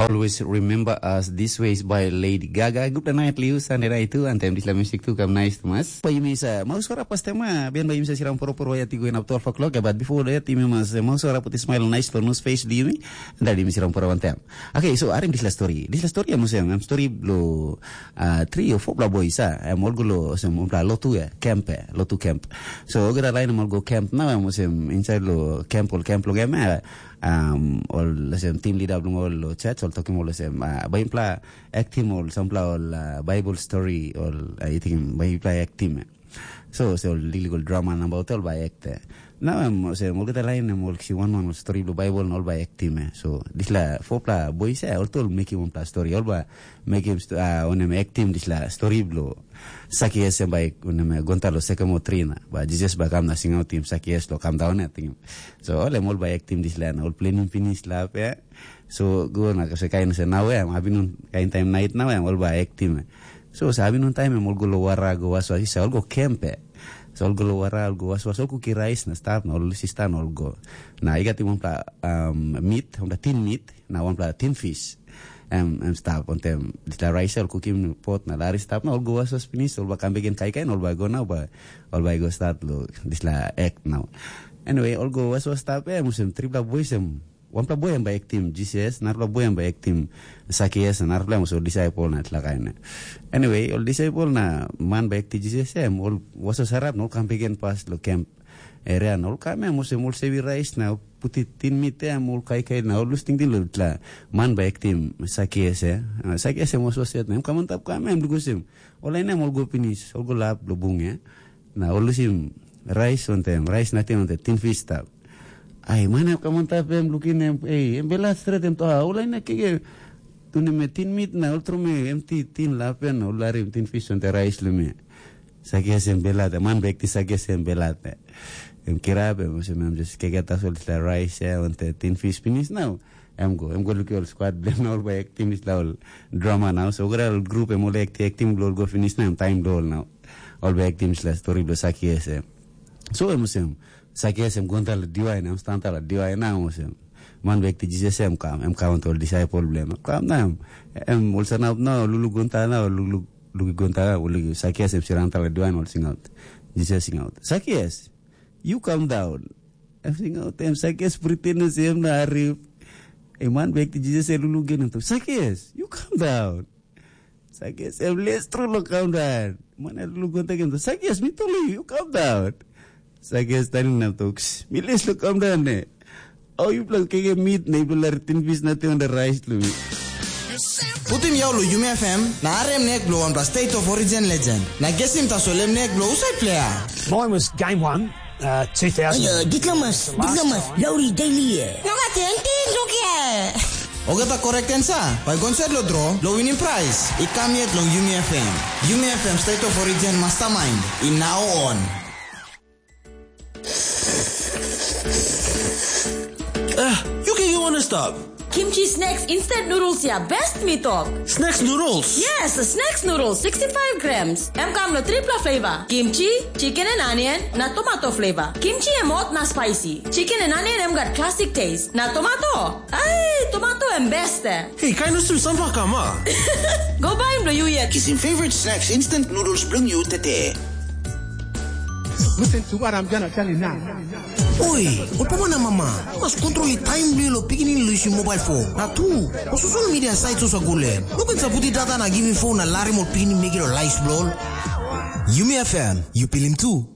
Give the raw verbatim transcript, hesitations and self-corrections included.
Always remember us this way is by Lady Gaga. Good night, Liu. Sunday night too, and time this music too come nice to us. But you miss uh, Maus Kora Pastema, Ben by Misa Siram Poro Poro Yati going up twelve o'clock. But before that, you must uh, Maus Kora put a smile nice to nose face, do you mean? And that you miss Siram Poro one time. Okay, so arim this last story. This last story, I'm saying, I'm story blow uh, three or four bla boys, ah, I'm all go lo, sem, bla lotu, eh, camp, eh, lotu camp. So, oke, that line, I'm all go camp now, I'm saying, inside lo camp, all camp lo game, eh, um, ol sem team leader bilong ol lo church ol tokim ol sem uh, bainpela actim ol sampela ol uh, Bible story ol uh, itim bainpela actim. So se ol legal drama nabaut ol bai act. Nau em olsem olgeta lain em ol kisi wan wan ol stori bilong Baibel na ol bai aktim. So dispela fopela bois ya ol tu ol mekim wanpela stori ol bai mekim uh, onem aktim dispela stori bilong Sakias em bai unem gonta lo sekemo tri na ba Jisas bai kam na singautim Sakias lo kam daun ya tingim. So ol em ol bai aktim dispela na ol plenim pinis lap ya. So go na se kain se nau em abinun kain taim nait nau em ol bai aktim. So se abinun taim em ol go lo wara go waswas isa ol go kempe. So ol go lo wara ol go waswas ol kuki rais na stap na ol sista na ol go. Na i gat wanpela um, mit, wanpela tin mit, na wanpela tin fis. Em em stap ontem dispela rais ol kukim pot na lari stap na ol go waswas pinis ol bai kam beken kaikai na ol bai go nau bai ol bai go stat lo dispela ek nau. Anyway, ol go waswas stap em olsem tripela bois em wanpela boi em bai aktim Jisas, narapela boi em bai aktim Sakias, na narapela em ol disaipel na dispela kain. Anyway, ol disaipel na man bai aktim Jisas em ol waswas harap na ol kam beken pas lo kemp eria na ol kam em olsem ol sevi rais na puti tin mit em ol kaikai na ol lus tingting lo dispela man bai aktim Sakias ya. Sakias em was was yet na em kam antap kam em lukusim. Ol lain em ol go pinis, ol go lap lo bung ya. Na ol lusim rais wantem, rais nating wantem tin fis stap. Ai man em kam antap em lukim em, ei, em belat stret em toa, ol lain kege tunim tin mit na ol trum em ti tin lap en ol larim tin fis wantem rais lo mi. Sakias em belat, man bek ti Sakias em belat. Em kirap em olsem em just keke tasol dispela rais ya wantaim tin fis pinis nau. Em go, em go lukim ol squad bilem na ol bai aktim dispela ol drama nau. So olgeta ol grup em ol akti aktim bilong ol go pinis na em taim bilong ol nau. Ol bai aktim dispela stori bilong Sakias em. So em olsem, Sakias em go antap long diwai na em stat antap long diwai na em olsem. Man bek ti Jisas em kam, em kam wantaim ol disaipel bilong em. Kam na em, em ol sanap na ol luluk go antap na ol luluk luki go antap, ol luki Sakias em sindaun antap long diwai na ol singaut. Jisas singaut, "Sakias, yu kam daun." Em singaut, em Sakias priten olsem em no harim. Em man bek ti Jisas em luluk gen em tok, "Sakias, yu kam daun." Sakias em les tru long kam daun. Man em luluk go antap em tok, "Sakias, mi tolu yu, yu kam daun." Sakias tanim na tok, "Mi les lo kam daun ne. Au yupela keke mit na yupela larim tin pis nating wantaim rais long mi." Putim yau long Yumi F M na harim nek bilong wanpela State of Origin legend. Na gesim tasol em nek bilong husat pleier. Mine was game one, uh, two thousand. Ayo, diplomas, diplomas, lauri daily e. Nogat tingting lukia. Olgeta correct answer bai go insait long draw long winim prais i kam yet long Yumi F M. Yumi F M State of Origin Mastermind i now on. Ah, yu ken yu wan stap. Kimchi snacks instant noodles ya best mi tok. Snacks noodles? Yes, snacks noodles sixty-five grams. Em kam lo tripla flavor. Kimchi, chicken and onion, na tomato flavor. Kimchi em hot na spicy. Chicken and onion em gat classic taste. Na tomato? Ai, tomato em best eh. Hei, kain olsem sampela kam a? Go baim lo yu yet. Kisim favorite snacks instant noodles bilong yu tete. Listen to what I'm gonna tell you now. Oi, ol papa na mama, mas kontrol i taim bilong lo pikinini lo yusim mobile phone. Na tu, o social media site sosa go le. No ken saputi data na givim phone na larim ol pikinini mekim lo life bilong. Yumi F M, you pilim tu.